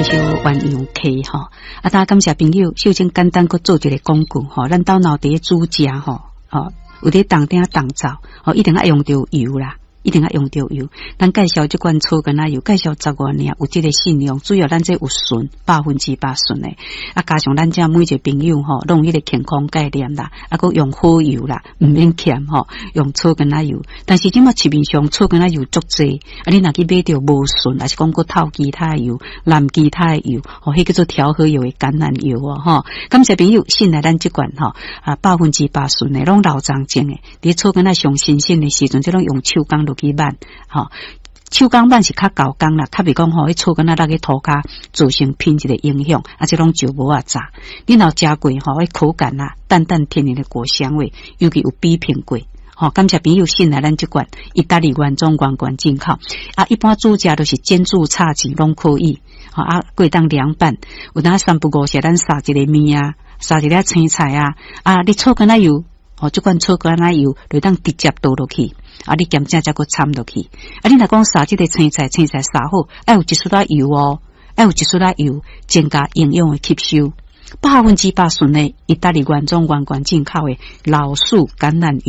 這首鴛鴦溪吼。啊，當感謝朋友，秀珍簡單閣做一个廣告吼，咱兜若佇咧煮食吼，吼有佇當鼎當灶吼，一定愛用著油啦。一定愛用著油。咱介紹這款草根仔油，介紹十外年，有這个信用。主要咱這有純100%純的，啊，加上咱遮每一个朋友吼，攏有彼个健康概念啦，啊，閣用好油啦，毋免儉吼，用草根仔油。但是這馬市面上草根仔油足濟，啊，你若去買著無純，抑是講閣透其他的油、濫其他的油，吼，彼叫做調和油的橄欖油哦，吼。感謝朋友信賴咱這款吼，啊，百分之百純的，攏老欉種的。佇草根仔上新鮮的時陣，這攏用手工落去挽，吼，手工挽是較厚工啦，較袂講吼，彼草根仔落去塗跤造成品質的影響，啊，這攏石磨仔榨。你若食過吼，彼口感啊，淡淡天然的果香味，尤其有比拼過。吼，感謝朋友信賴咱這款意大利原裝原罐進口。啊，一般煮食都是煎煮炒煎攏可以。吼啊，會當涼拌，有當三不五時，咱撒一个麵啊，撒一粒青菜啊，啊，你草根仔油，吼，這款草根仔油就當直接倒落去。啊，你兼正才閣摻落去。啊，你若講撒這个青菜，青菜撒好，愛有一絲仔油哦，愛有一絲仔油，增加營養的吸收。百分之百純的意大利原裝原罐進口的老樹橄欖油。